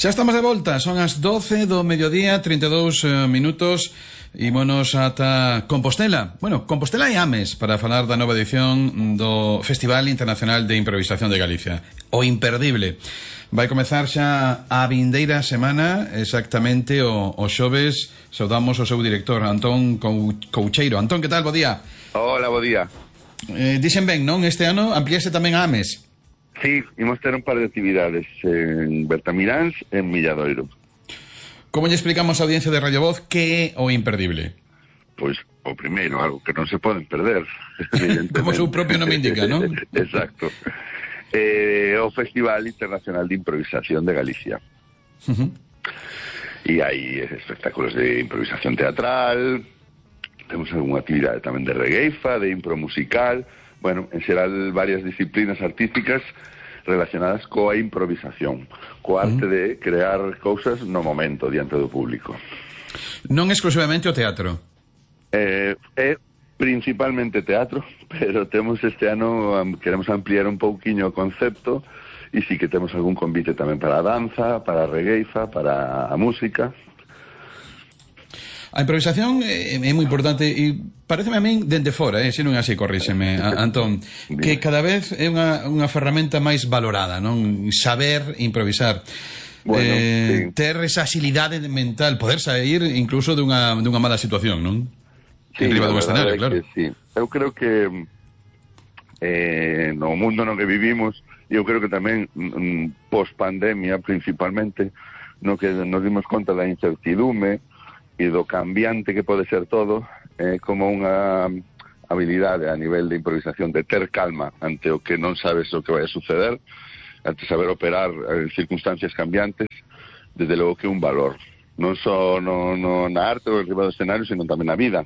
Xa estamos de volta, son as 12 do mediodía, 32 minutos. Ímonos ata Compostela. Bueno, Compostela e Ames para falar da nova edición do Festival Internacional de Improvisación de Galicia, o imperdible. Vai comezar xa a vindeira semana, exactamente o xoves. Saudamos o seu director, Antón Coucheiro. Antón, que tal? Bo día. Hola, bo día. Dixen ben, non? Este ano ampliase tamén a Ames. Sí, imos ter un par de actividades en Bertamiráns e en Milladoiro. Como lle explicamos á audiencia de Radio Voz que é o imperdible? Pois, o primeiro, algo que non se poden perder. Como o seu propio nome indica, non? Exacto. O Festival Internacional de Improvisación de Galicia. E hai espectáculos de improvisación teatral, temos algunha actividade tamén de regueifa, de impro musical, bueno, en xeral varias disciplinas artísticas relacionadas coa improvisación, coa arte de crear cousas no momento diante do público. Non exclusivamente o teatro. É principalmente teatro, pero temos este ano, queremos ampliar un pouquiño o concepto, e sí que temos algún convite tamén para a danza, para a regueifa, para a música. A improvisación é moi importante e pareceme a min dende fora, se non é así, corríxeme, Antón, que cada vez é unha ferramenta máis valorada, non? Saber improvisar. Bueno, sí. Ter esa axilidade mental, poder sair incluso dunha mala situación, non? Sí, en riba dun escenario, claro. Sí. Eu creo que no mundo no que vivimos, eu creo que tamén post-pandemia principalmente, no que nos dimos conta da incertidume e do cambiante que pode ser todo, como unha habilidade a nivel de improvisación, de ter calma ante o que non sabes o que vai a suceder, ante saber operar en circunstancias cambiantes, desde logo que é un valor, non só na arte ou en riba do escenario, sino tamén na vida,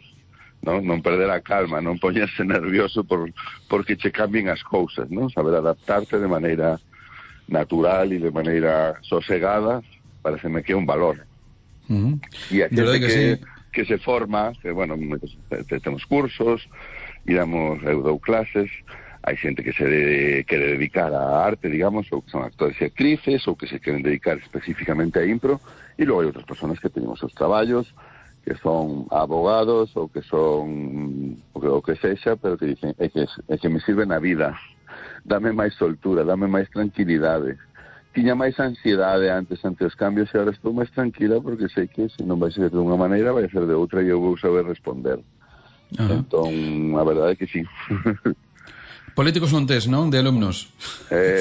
non perder a calma, non poñerse nervioso porque che cambien as cousas, non? Saber adaptarte de maneira natural e de maneira sosegada, pareceme que é un valor. E a xente que se forma, que, bueno, temos cursos, eu dou clases, hai xente que se quere dedicar á arte, digamos, ou que son actores e actrices, ou que se queren dedicar especificamente a impro, e logo hai outras personas que teñen os seus traballos, que son abogados, ou que son o que sexa, pero que dicen, é que me sirve na vida, dame máis soltura, dame máis tranquilidade. Tiña máis ansiedade antes ante os cambios e agora estou máis tranquila porque sei que se non vai ser de unha maneira vai ser de outra e eu vou saber responder. Entón, a verdade é que sí. Políticos non tes, non? De alumnos.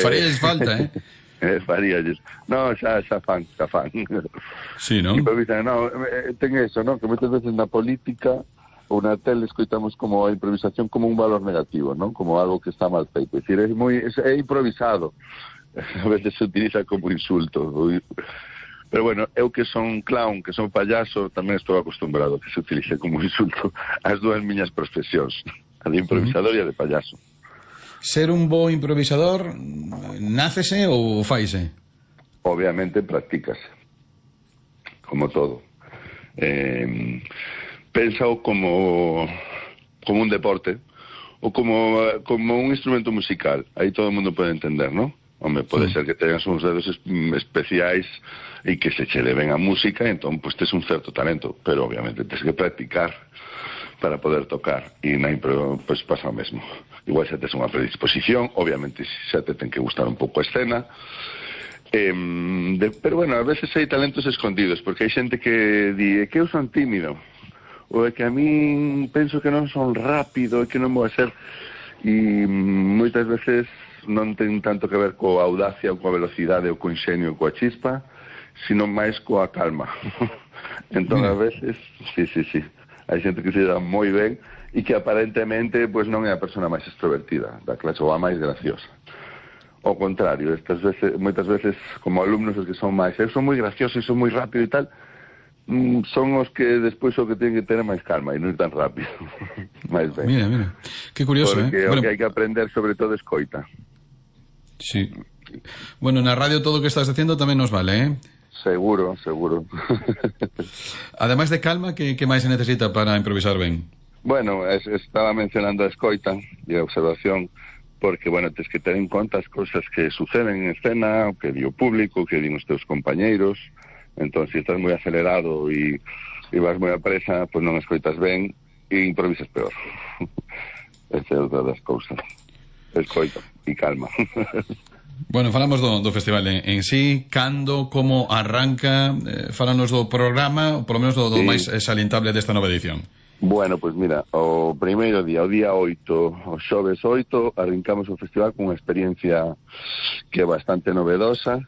Faríalles falta, Faríalles. No, xa fan. Sí, non? Ten eso, non? Que moitas veces na política ou na tele escoitamos como a improvisación como un valor negativo, non? Como algo que está mal feito. É dicir, é improvisado. A veces se utiliza como insulto. Pero bueno, eu que son clown, que son payaso, tamén estou acostumbrado a que se utilice como insulto as dúas miñas profesións, a de improvisador e a de payaso. Ser un bo improvisador, nácese ou faise? Obviamente practícase, como todo. Pénsao como un deporte, ou como un instrumento musical. Aí todo o mundo pode entender, non? Home, pode ser que tengas uns dedos especiais e que se che leven a música, entón, pues, tes un certo talento, pero obviamente tes que practicar para poder tocar, e na impro, pues, pasa o mesmo. Igual xa tes unha predisposición, obviamente xa te ten que gustar un pouco a escena, pero bueno, a veces hai talentos escondidos, porque hai xente que di, que eu son tímido, ou é que a min penso que non son rápido, e que non vou a ser, e moitas veces non ten tanto que ver coa audacia ou coa velocidade ou co inxenio ou coa chispa, sino máis coa calma. Entón, a veces, sí, hai xente que se dá moi ben e que aparentemente pues, non é a persona máis extrovertida da clase ou a máis graciosa. Ao contrario, moitas veces, como alumnos, os que son máis, eu son moi gracioso e son moi rápido e tal, son os que despois o que teñen que ter máis calma e non ir tan rápido. máis ben. Mira, que curioso, porque o que hai que aprender sobre todo é escoita. Sí. Bueno, na radio todo o que estás diciendo tamén nos vale, Seguro. Ademais de calma, que máis se necesita para improvisar ben? Bueno, estaba mencionando a escoita e a observación, porque, bueno, tens que ter en conta as cousas que suceden en escena, o que di o público, o que din os teus compañeiros. Entón, se estás moi acelerado e vas moi a presa, pois non escoitas ben e improvisas peor. Esa é outra das cousas. Escoita e calma. Bueno, falamos do festival en sí, cando, como arranca, falanos do programa, ou polo menos do máis salientable desta nova edición. Bueno, pois mira, o primeiro día, o día 8, o xoves 8, arrancamos o festival con unha experiencia que é bastante novedosa,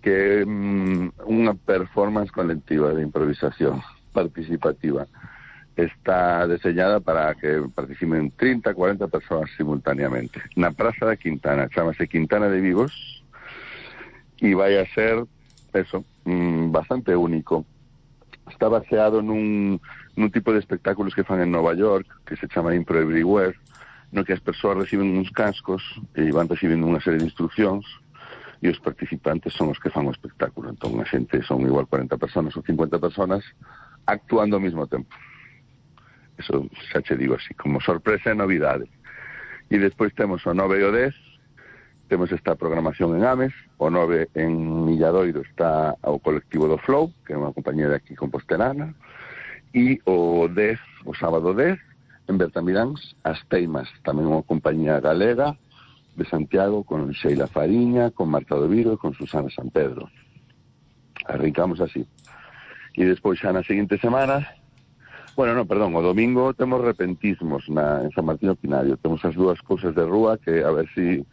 que é unha performance colectiva de improvisación participativa. Está deseñada para que participen 30, 40 persoas simultáneamente. Na Praza da Quintana, chamase Quintana de Vivos, e vai a ser, eso, bastante único. Está baseado nun tipo de espectáculos que fan en Nova York, que se chama Impro Everywhere, no que as persoas reciben uns cascos e van recibindo unha serie de instruccións, e os participantes son os que fan o espectáculo. Entón, a xente son igual 40 personas ou 50 personas actuando ao mesmo tempo. Eso xa che digo así, como sorpresa e novidade. E despois temos o 9 e o 10, temos esta programación en Ames, o 9 en Milladoiro está o colectivo do Flow, que é unha compañía de aquí compostelana, e o 10, o sábado 10, en Bertamiráns, As Teimas, tamén unha compañía galega de Santiago, con Sheila Fariña, con Marta Doviro e con Susana San Pedro. Arrancamos así. E despois xa na seguinte semana, bueno, no, perdón, o domingo temos repentismos en San Martín Pinario. Temos as dúas cousas de rúa que a ver si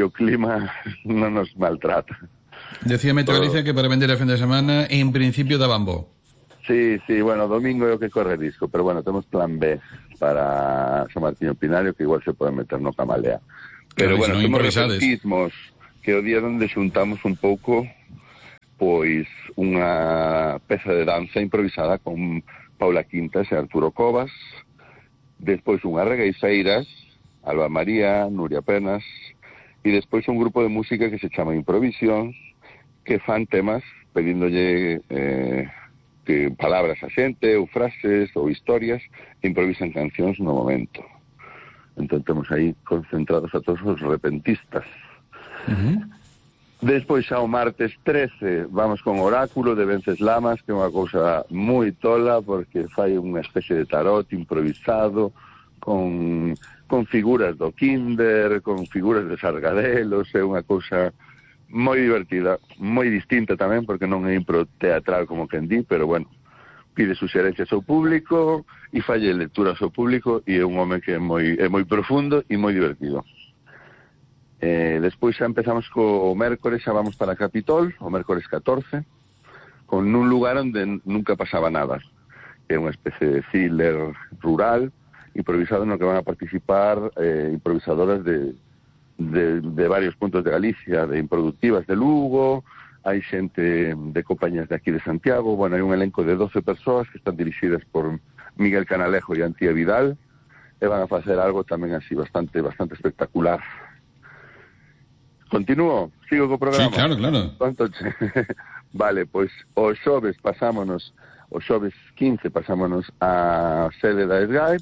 o clima non nos maltrata. Decía Metro Galicia que para vender a fin de semana en principio daban bo. Sí, bueno, domingo é o que corre risco, pero bueno, temos plan B para San Martín Pinario, que igual se pode meter no Camalea. Pero bueno, temos repentismos que o día onde xuntamos un pouco pois unha peza de danza improvisada con Paula Quintas e Arturo Covas, despois unhas regueiseiras, Alba María, Nuria Penas, e despois un grupo de música que se chama Improvisión, que fan temas pedíndolle palabras a xente, ou frases, ou historias, e improvisan cancións no momento. Entón temos aí concentrados a todos os repentistas. Despois xa o martes 13 vamos con Oráculo de Venceslamas, que é unha cousa moi tola porque fai unha especie de tarot improvisado con figuras do kinder, con figuras de Sargadelos. É unha cousa moi divertida, moi distinta tamén porque non é impro teatral como quen di, pero bueno, pide suxerencias ao público e falle lecturas ao público, e é un home que é moi profundo e moi divertido. Despois xa empezamos co mércores, xa vamos para Capitol, o mércores 14, con un lugar onde nunca pasaba nada, que é unha especie de thriller rural, improvisado no que van a participar improvisadoras de varios puntos de Galicia, de Improductivas de Lugo, hai xente de compañías de aquí de Santiago. Bueno, hai un elenco de 12 persoas que están dirixidas por Miguel Canalejo e Antía Vidal, e van a facer algo tamén así bastante espectacular. Continúo? Sigo co programa? Sí, claro. Vale, pois o xoves 15 pasámonos a sede da SGAE,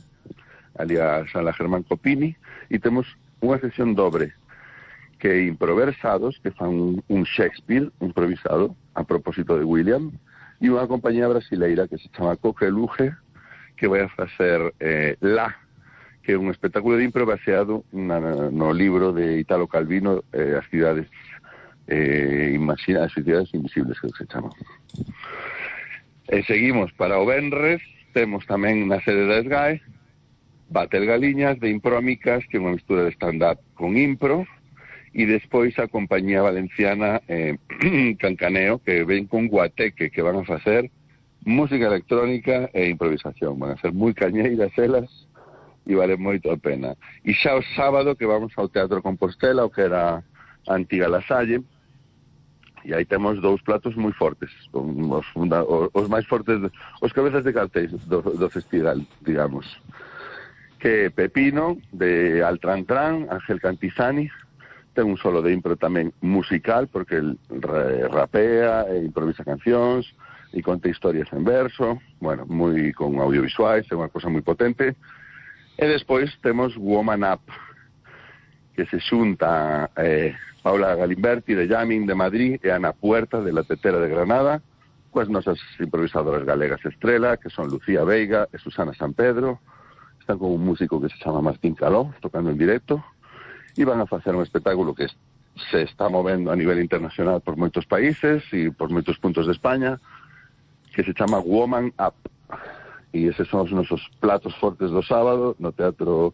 ali a Sala Germán Copini, e temos unha sesión dobre, que é Improversados, que fan un Shakespeare improvisado a propósito de William, e unha compañía brasileira que se chama Coque Luge, que vai a facer La, que é un espectáculo de impro baseado no libro de Italo Calvino, As cidades imaginadas, as cidades invisibles, que se chama. Seguimos para o venres, temos tamén na sede da SGAE Batel Galiñas de Imprómicas, que é unha mistura de stand-up con impro, e despois a compañía valenciana Cancaneo, que ven con Guateque, que van a facer música electrónica e improvisación. Van a ser moi cañeiras elas, e vale moito a pena. E xa o sábado que vamos ao Teatro Compostela, o que era a antiga La Salle, e aí temos dous platos moi fortes, os máis fortes, os cabezas de cartéis do festival, digamos, que Pepino, de Altrantran, Ángel Cantizani, ten un solo de impro tamén musical, porque el rapea e improvisa cancións, e conta historias en verso, bueno, moi con audiovisuais, é unha cosa moi potente. E despois temos Woman Up, que se xunta Paula Galimberti de Llamin de Madrid e Ana Puerta de La Tetera de Granada, coas nosas improvisadoras galegas estrela, que son Lucía Veiga e Susana San Pedro. Están con un músico que se chama Martín Caló, tocando en directo, e van a facer un espectáculo que se está movendo a nivel internacional por moitos países e por moitos puntos de España, que se chama Woman Up. E eses son os nosos platos fortes do sábado no Teatro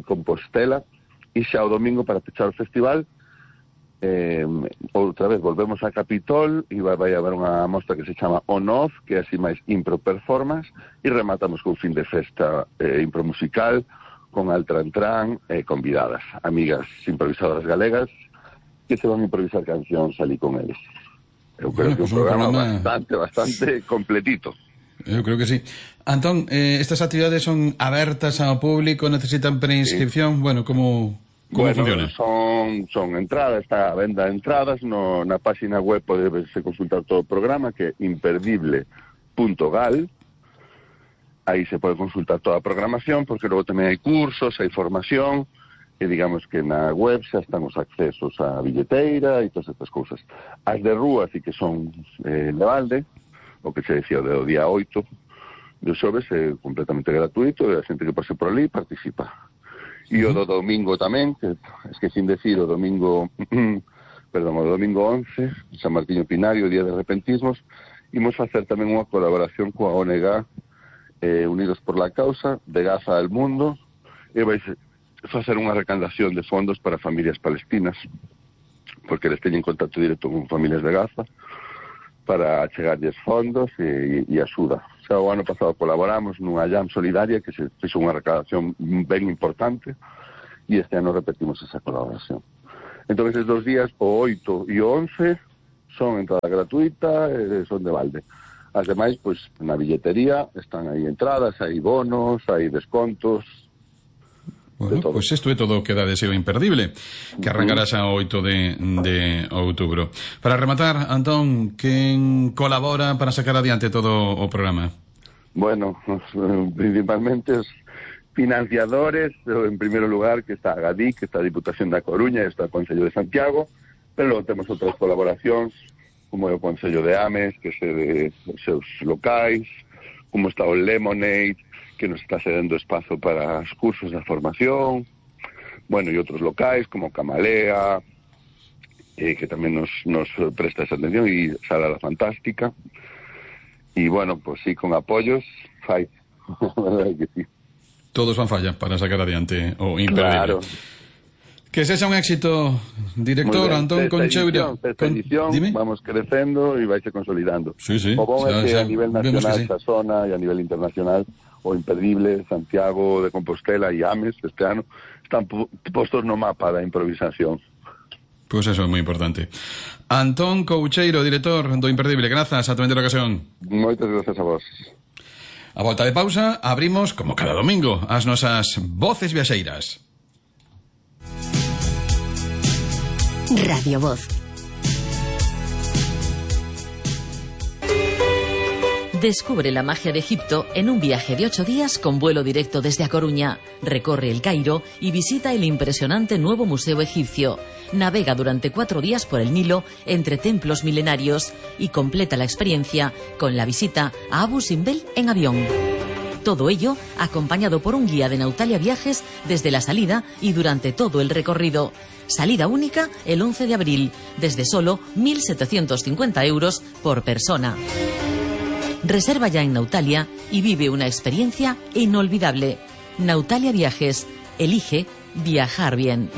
Compostela, e xa o domingo para pechar o festival outra vez volvemos a Capitol e vai haber unha mostra que se chama On Off, que é así máis impro performance, e rematamos con fin de festa impro musical con Altrantrán convidadas, amigas improvisadoras galegas que se van a improvisar cancións ali con eles. Eu creo que un programa bastante completito. Eu creo que sí. Antón, estas actividades son abertas ao público, necesitan preinscripción, bueno, como funciona? Son entradas, está a venda de entradas, na página web podese consultar todo o programa, que é imperdible.gal. Aí se pode consultar toda a programación, porque logo tamén hai cursos, hai formación, e digamos que na web xa están os accesos á billeteira e todas estas cousas. As de rúa sí que son de balde, o que se decía do día 8 de xoves é completamente gratuito, e a xente que pase por ali participa. E o do domingo tamén, que esquecín decir, o domingo 11, San Martiño Pinario, Día de Repentismos, imos facer tamén unha colaboración coa ONG Unidos por la Causa, de Gaza al Mundo, e vai facer unha recaudación de fondos para familias palestinas, porque eles teñen contacto directo con familias de Gaza, para chegarlles fondos e axuda. Xa o ano pasado colaboramos nunha jam solidaria que se fixo unha recaudación ben importante, e este ano repetimos esa colaboración. Entón, esos 2 días, o 8 e o 11, son entrada gratuita, son de balde. As demais, pois, na billetería están aí entradas, hai bonos, hai descontos. Bueno, pois isto é todo o que dá deseo imperdible, que arrancará xa o 8 de outubro. Para rematar, Antón, quen colabora para sacar adiante todo o programa? Bueno, principalmente os financiadores, en primeiro lugar, que está a GADIC, que está a Diputación da Coruña, e está o Concello de Santiago, pero logo temos outras colaboracións, como é o Concello de Ames, que se de seus locais, como está o Lemonade, que nos está cedendo espazo para os cursos de formación, bueno, e outros locais como Camalea, que tamén nos presta esa atención, e Sala La Fantástica, e bueno, pues sí, con apoios fai. Que sí. Todos van falla para sacar adiante o imperdible. Claro. Que sexa un éxito, director Antón Concheiro. Esta edición vamos crecendo e vaise consolidando. Sí, sí. O bom é que a nivel nacional, esta zona, e a nivel internacional, o Imperdible, Santiago de Compostela e Ames este ano están postos no mapa da improvisación. Pois eso é moi importante. Antón Concheiro, director do Imperdible, grazas, ata outra ocasión. Moitas grazas a vos. A volta de pausa, abrimos, como cada domingo, as nosas voces viaxeiras. Radio Voz. Descubre la magia de Egipto en un viaje de 8 días con vuelo directo desde A Coruña. Recorre el Cairo y visita el impresionante nuevo museo egipcio. Navega durante 4 días por el Nilo entre templos milenarios y completa la experiencia con la visita a Abu Simbel en avión. Todo ello acompañado por un guía de Nautalia Viajes desde la salida y durante todo el recorrido. Salida única el 11 de abril, desde solo 1.750 euros por persona. Reserva ya en Nautalia y vive una experiencia inolvidable. Nautalia Viajes. Elige viajar bien.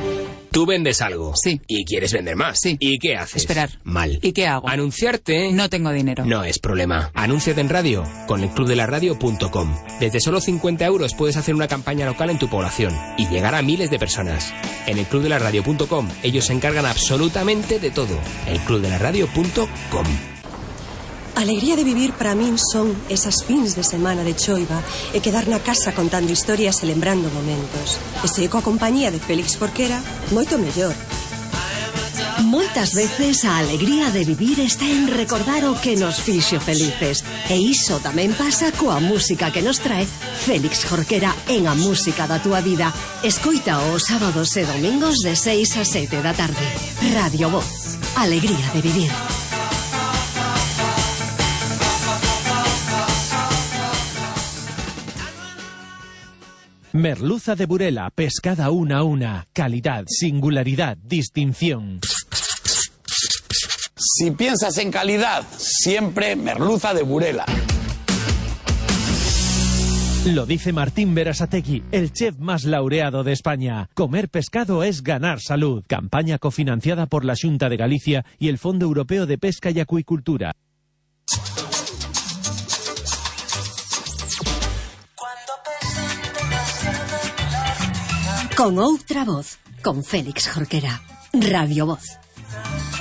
Tú vendes algo. Sí. Y quieres vender más. Sí. ¿Y qué haces? Esperar. Mal. ¿Y qué hago? Anunciarte. No tengo dinero. No es problema. Anúnciate en radio con elclubdelaradio.com. Desde solo 50 euros puedes hacer una campaña local en tu población y llegar a miles de personas. En elclubdelaradio.com ellos se encargan absolutamente de todo. elclubdelaradio.com. A alegría de vivir para min son esas fins de semana de choiva e quedar na casa contando historias e lembrando momentos. E se coa compañía de Félix Porquera, moito mellor. Moitas veces a alegría de vivir está en recordar o que nos fixo felices. E iso tamén pasa coa música que nos trae Félix Jorquera en A Música da Túa Vida. Escoita os sábados e domingos de 6 a 7 da tarde. Radio Voz. Alegría de vivir. Merluza de Burela, pescada una a una. Calidad, singularidad, distinción. Si piensas en calidad, siempre merluza de Burela. Lo dice Martín Berasategui, el chef más laureado de España. Comer pescado es ganar salud. Campaña cofinanciada por la Xunta de Galicia y el Fondo Europeo de Pesca y Acuicultura. Con outra voz, con Félix Jorquera. Radio Voz.